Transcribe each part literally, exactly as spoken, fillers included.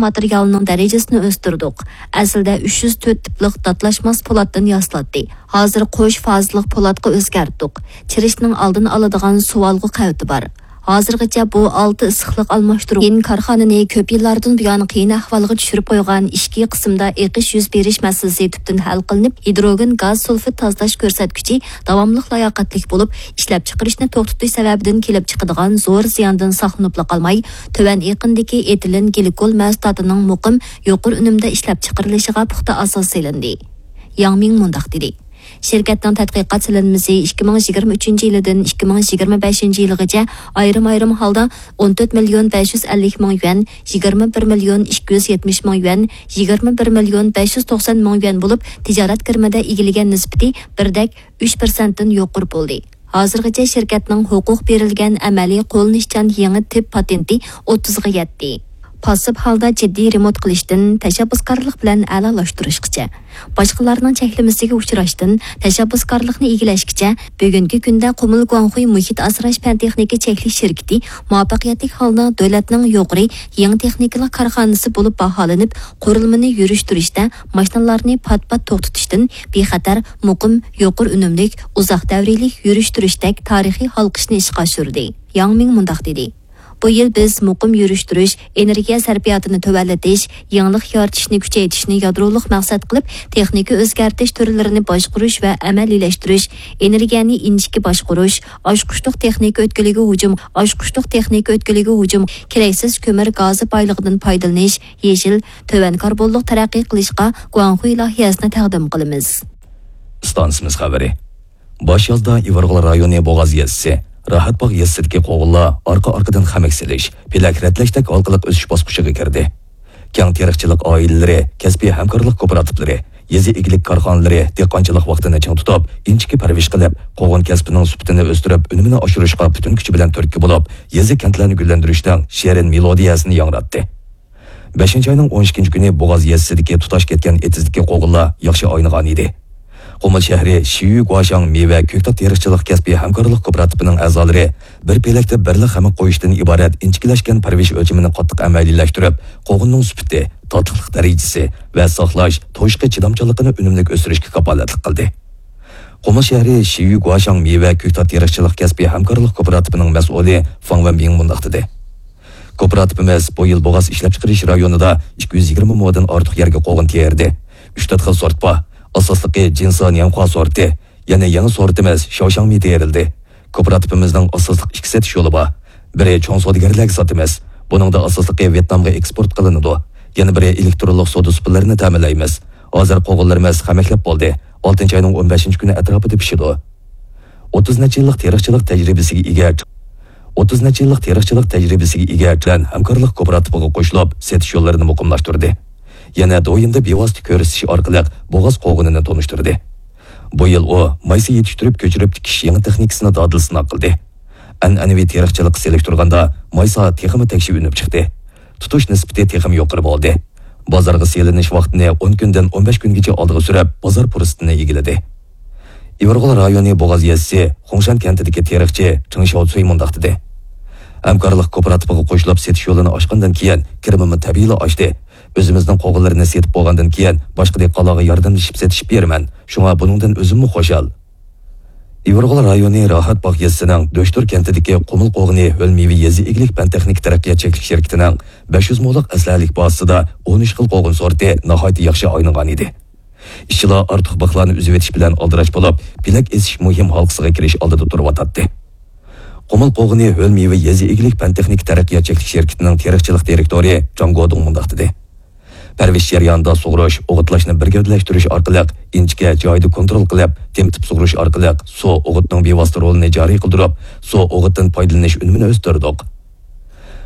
ماتېرىيالىنىڭ دەرىجىسىنى ئۆستۈردۇق. ئەسلىدە ئۈچ يۈز تۆت تىپلىق داتلاشماس پولاتتىن ياسىلاتتى. ھازىر قوش فازىلىق پولاتقا ئۆزگەرتتۇق. چىرىشنىڭ ئالدىنى ئالىدىغان سۇۋالغۇ قەۋىتى بار. ھازىرغىچە بۇ ئالتە ئىسسىقلىق ئالماشتۇرغۇچى كارخانىنى كۆپ يىللاردىن بۇيان قىيىن ئەھۋالغا چۈشۈرۈپ قويغان ئىچكى قىسىمدا ئېقىش يۈز بېرىش مەسىلىسى تۈپتىن ھەل قىلىنىپ، ھىدروگېن گاز سۇلفىد تازىلاش كۆرسەتكۈچى داۋاملىق لاياقەتلىك بولۇپ، ئىشلەپچىقىرىشنى توختىتىش سەۋەبىدىن كېلىپ چىقىدىغان زور زىياندىن ساقلىنىپلا قالماي، تۆۋەن ئېقىندىكى ئېتىلېن گلىكول مەھسۇلاتىنىڭ مۇقىم، يۇقىرى ئۈنۈمدە ئىشلەپچىقىرىلىشىغا پۇختا ئاساس سېلىندى. ياڭ مىڭ مۇنداق دېدى. شىركەتنىڭ تەتقىقات سېلىنمىسى ئىككى مىڭ يىگىرمە ئۈچىنچى يىلىدىن ئىككى مىڭ يىگىرمە بەشىنچى يىلغىچە ئايرىم-ئايرىم ھالدا ئون تۆت مىليون بەش يۈز ئەللىك مىڭ يۈەن، يىگىرمە بىر مىليون ئىككى يۈز يەتمىش مىڭ يۈەن، يىگىرمە بىر مىليون بەش يۈز توقسان مىڭ يۈەن بولۇپ، تىجارەت كىرىمىدە ئىگىلىگەن نىسبىتى بىردەك ئۈچ پىرسەنتتىن يۇقىرى بولدى. ھازىرغىچە شىركەتنىڭ ھوقۇق بېرىلگەن ئەمەلىي قوللىنىشچان يېڭى تىپ پاتېنتى ئوتتۇزغا يەتتى. پاسسىپ ھالدا جىددىي رېمونت قىلىشتىن تەشەببۇسكارلىق بىلەن ئەلالاشتۇرۇشقىچە، باشقىلارنىڭ چەكلىمىسىگە ئۇچراشتىن تەشەببۇسكارلىقنى ئىگىلەشكىچە، بۈگۈنكى كۈندە قۇمۇل گۇاڭخۇي مۇھىت ئاسراش پەن تېخنىكا چەكلىك شىركىتى مۇۋەپپەقىيەتلىك ھالدا دۆلەتنىڭ يۇقىرى يېڭى تېخنىكىلىق كارخانىسى بولۇپ باھالىنىپ، قۇرۇلمىنى يۈرۈشتۈرۈشتە ماشىنىلارنى پات-پات توختىتىشتىن بىخەتەر، مۇقىم، يۇقىرى ئۈنۈملۈك، ئۇزاق دەۋرىيلىك يۈرۈشتۈرۈشتەك تارىخىي ھالقىشنى ئىشقا ئاشۇردى. ياڭ مىڭ مۇنداق دېدى. بۇ يىل بىز مۇقىم يۈرۈشتۈرۈش، ئېنېرگىيە سەرپىياتىنى تۆۋەنلىتىش، يېڭىلىق يارىتىشنى كۈچەيتىشنى يادرولۇق مەقسەت قىلىپ، تېخنىكا ئۆزگەرتىش تۈرلىرىنى باشقۇرۇش ۋە ئەمەلىيلەشتۈرۈش، ئېنېرگىيەنى ئىنچىكە باشقۇرۇش، ئاچقۇچلۇق تېخنىكا ئۆتكىلىگە ھۇجۇم، ئاچقۇچلۇق تېخنىكا ئۆتكىلىگە ھۇجۇم، كېرەكسىز كۆمۈر گازى بايلىقىدىن پايدىلىنىش، يېشىل، تۆۋەن كاربونلۇق تەرەققىي قىلىشقا گۇاڭخۇي لايىھەسىنى تەقدىم قىلىمىز. ئىستانسىمىز خەۋىرى. باش يازدا ئىۋىرغول رايونى بوغاز يېزىسى، راھەتباغ يېزىسىدىكى قوغۇنلار ئارقا-ئارقىدىن خەمەك سېلىش، پېلەك رەتلەشتەك ھالقىلىق ئۆسۈش باسقۇچىغا كىردى. كەڭ تېرىقچىلىق ئائىلىلىرى، كەسپىي ھەمكارلىق كوپىراتىپلىرى، يېزا ئىگىلىك كارخانىلىرى دېھقانچىلىق ۋاقتىنى چىڭ تۇتۇپ، ئىنچىكە پەرۋىش قىلىپ، قوغۇن كەسپىنىڭ سۈپىتىنى ئۆستۈرۈپ، ئۈنۈمىنى ئاشۇرۇشقا پۈتۈن كۈچى بىلەن تۈرتكە بولۇپ، يېزا-كەنتلەرنى گۈللەندۈرۈشنىڭ شېرىن مېلودىيەسىنى ياڭراتتى. بەشىنچى ئاينىڭ ئون ئىككىنچى كۈنى بوغاز يېزىسىدىكى تۇتاش كەتكەن ئېتىزدىكى قوغۇنلار ياخشى ئاينىغان ئىدى. قۇمۇل شەھىرى شىيۈ گۇاشاڭ مېۋە كۆكتات تېرىقچىلىق كەسپىي ھەمكارلىق كوپىراتىپىنىڭ ئەزالىرى بىر پېلەكتە بىرلا خەمەك قويۇشتىن ئىبارەت ئىنچىكىلەشكەن پەرۋىش ئۆلچىمىنى قاتتىق ئەمەلىيلەشتۈرۈپ، قوغۇننىڭ سۈپىتى، تاتلىقلىق دەرىجىسى ۋە ساقلاش، توشۇشقا چىدامچانلىقىنى ئۈنۈملۈك ئۆستۈرۈشكە كاپالەتلىك قىلدى. قۇمۇل شەھىرى شىيۈ گۇاشاڭ مېۋە كۆكتات تېرىقچىلىق كەسپىي ھەمكارلىق كوپىراتىپىنىڭ مەسئۇلى فاڭ ۋېنبىڭ مۇنداق دېدى. كوپىراتىپىمىز بۇ يىل بوغاز ئىشلەپچىقىرىش رايونىدا ئىككى يۈز يىگىرمە مودىن ئارتۇق يەرگە قوغۇن تېرىدى. ئۈچ تۆت خىل سورت بار. ئاساسلىقى جىنسا نيەنخۇا سورتى، يەنە يېڭى سورتىمىز شاۋشاڭمى تېرىلدى. كوپىراتىپىمىزنىڭ ئاساسلىق ئىككى سېتىش يولى بار. بىرى چوڭ سودىگەرلەرگە ساتىمىز. بۇنىڭدا ئاساسلىقى ۋيېتنامغا ئېكسپورت قىلىنىدۇ. يەنە بىرى ئېلېكترونلۇق سودا سۇپىلىرىنى تەمىنلەيمىز. ھازىر قوغۇنلىرىمىز خەمەكلەپ بولدى. ئالتىنچى ئاينىڭ ئون بەشىنچى كۈنى ئەتراپىدا پىشىدۇ. ئوتتۇز نەچچە يىللىق تېرىقچىلىق تەجرىبىسىگە ئىگە، ئوتتۇز نەچچە يىللىق تېرىقچىلىق تەجرىبىسىگە ئىگە بىلەن ھەمكارلىق كوپىراتىپىغا قوشۇلۇپ، سېتىش يوللىرىنى مۇقىملاشتۇردى. يەنە دويىمدا بىۋاسىتە كۆرسىتىش ئارقىلىق بوغاز قوغۇنىنى تونۇشتۇردى. بۇ يىل ئۇ مايسا يېتىشتۈرۈپ كۆچۈرۈپ تىكىش يېڭى تېخنىكىسىنى دادىل سىناق قىلدى. ئەنئەنىۋى تېرىقچىلىققا سېلىشتۇرغاندا مايسا تېخىمۇ تەكشى ئۈنۈپ چىقتى. تۇتۇش نىسبىتى تېخىمۇ يۇقىرى بولدى. بازارغا سېلىنىش ۋاقتىنى ئون كۈندىن ئون بەش كۈنگىچە ئالدىغا سۈرۈپ، بازار پۇرسىتىنى ئىگىلىدى. ئىۋىرغول رايونى بوغاز يېزىسى خۇڭشەن كەنتىدىكى تېرىقچى چېڭ شياۋسۈي مۇنداق دېدى: ھەمكارلىق كوپىراتىپىغا قوشۇلۇپ سېتىش يولىنى ئاچقاندىن كېيىن، كىرىمىمۇ تەبىئىيلا ئاشتى. ئۆزىمىزنىڭ قوغۇنلىرىنى سېتىپ بولغاندىن كېيىن، باشقا دېھقانلارغا ياردەملىشىپ سېتىشىپ بېرىمەن. شۇڭا بۇنىڭدىن ئۆزۈممۇ خۇشال. ئىۋىرغول رايونى راھەتباغ يېزىسىنىڭ دۆشتۇر كەنتىدىكى قۇمۇل قوغۇنى ھۆل مېۋە يېزا ئىگىلىك پەن تېخنىكا تەرەققىيات چەكلىك شىركىتىنىڭ بەش يۈز مولۇق ئەسلىھەلىك بازىسىدا ئون ئۈچ خىل قوغۇن سورتى ناھايىتى ياخشى ئاينىغان ئىدى. ئىشچىلار ئارتۇق بىخلارنى ئۈزۈۋېتىش بىلەن ئالدىراش بولۇپ، پېلەك ئېسىش مۇھىم ھالقىسىغا كىرىش ئالدىدا تۇرۇۋاتاتتى. قۇمۇل قوغۇنى ھۆل مېۋە يېزا ئىگىلىك پەن تېخنىكا تەرەققىيات چەكلىك شىركىتىنىڭ تېرىقچىلىق دىرېكتورى جاڭ گودۇڭ مۇنداق دېدى: پەرۋىش جەريانىدا سۇغۇرۇش، ئوغۇتلاشنى بىر گەۋدىلەشتۈرۈش ئارقىلىق ئىنچىكە، جايىدا كونترول قىلىپ، تېمىتىپ سۇغۇرۇش ئارقىلىق سۇ ئوغۇتنىڭ بىۋاسىتە رولىنى جارى قىلدۇرۇپ، سۇ ئوغۇتتىن پايدىلىنىش ئۈنۈمىنى ئۆستۈردۇق.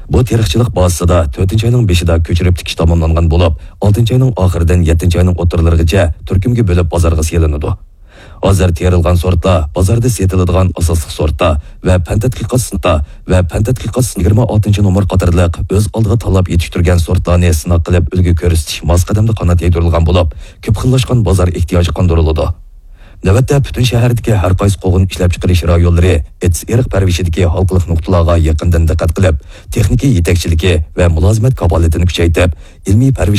بۇ تېرىقچىلىق بازىسىدا تۆتىنچى ئاينىڭ بېشىدا كۆچۈرۈپ تىكىش تاماملانغان بولۇپ، ئالتىنچى ئاينىڭ ئاخىرىدىن يەتتىنچى ئاينىڭ ئوتتۇرىلىرىغىچە تۈركۈمگە بۆلۈپ بازارغا سېلىنىدۇ. ھازىر تېرىلغان سورتلار بازاردا سېتىلىدىغان ئاساسلىق سورتلار ۋە پەن تەتقىقات سىنىپى ۋە پەن تەتقىقات سىنىپى يىگىرمە ئالتىنچى نومۇر قاتارلىق ئۆز ئالدىغا تاللاپ يېتىشتۈرگەن سورتلارنى سىناق قىلىپ ئۈلگە كۆرسىتىش ماس قەدەمدە قانات يايدۇرۇلغان بولۇپ، كۆپ خىللاشقان بازار ئېھتىياجى قاندۇرۇلىدۇ. نۆۋەتتە پۈتۈن شەھەردىكى ھەر قايسى قوغۇن ئىشلەپچىقىرىش رايونلىرى ئېتىز ئېرىق پەرۋىشىدىكى ھالقىلىق نۇقتىلارغا يېقىندىن دىققەت قىلىپ، تېخنىكا يېتەكچىلىكى ۋە مۇلازىمەت كاپالىتىنى كۈچەيتىپ، ئىلمىي پەرۋىش